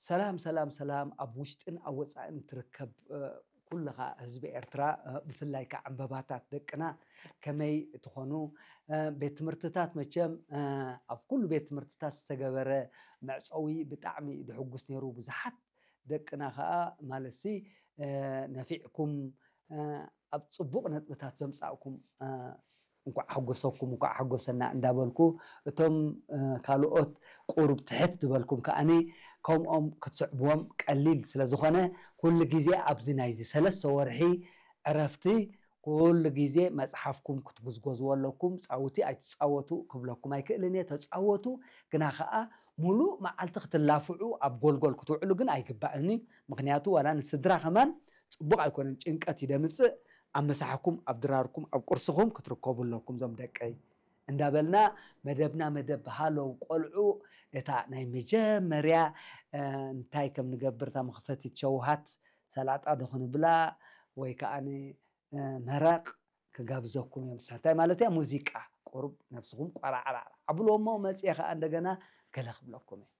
ሰላም ሰላም ሰላም፣ ኣብ ውሽጥን ኣብ ወፃእን ትርከብ ኩልኻ ህዝቢ ኤርትራ፣ ብፍላይ ከዓ ዕምበባታት ደቅና ከመይ ትኾኑ? ቤት ትምህርትታት መቸም ኣብ ኩሉ ቤት ትምህርትታት ዝተገበረ መዕፀዊ ብጣዕሚ ድሕጉስ ነይሩ። ብዙሓት ደቅና ከዓ ማለትሲ ነፊዕኩም ኣብ ፅቡቕ ነጥብታት ዘምፃእኩም እንኳዕ ሓጎሰኩም እንኳዕ ሓጎሰና እንዳበልኩ፣ እቶም ካልኦት ቁሩብ ትሕት ዝበልኩም ከዓኒ ከምኦም ክትስዕብዎም ቀሊል ስለ ዝኾነ፣ ኩሉ ግዜ ኣብዚ ናይዚ ሰለስተ ወርሒ ዕረፍቲ ኩሉ ግዜ መፅሓፍኩም ክትጉዝጎዝዎ ኣለኩም። ፃውቲ ኣይትፃወቱ ክብለኩም ኣይክእልን እየ፣ ተፃወቱ። ግና ከዓ ሙሉእ መዓልቲ ክትላፍዑ ኣብ ጎልጎል ክትውዕሉ ግን ኣይግባእን እዩ። ምክንያቱ ዋላ ንስድራ ከማን ፅቡቕ ኣይኮነን፣ ጭንቀት እዩ ደምፅእ። ኣብ ምሳሕኩም ኣብ ድራርኩም ኣብ ቁርስኹም ክትርከቡ ኣለኩም ዞም ደቀይ እንዳበልና፣ መደብና መደብ ሃለው ቆልዑ፣ እታ ናይ መጀመርያ እንታይ ከም ንገብር፣ እታ መኽፈቲት ሸውሃት ሰላጣ ዶ ክንብላ ወይ ከዓ መረቕ ክጋብዘኩም እዮም። ሳታይ ማለት እያ ሙዚቃ፣ ቁሩብ ነብስኹም ቆራዕራዕ ኣብልዎ እሞ መፅየ ከዓ እንደገና ገለ ክብለኩም እየ።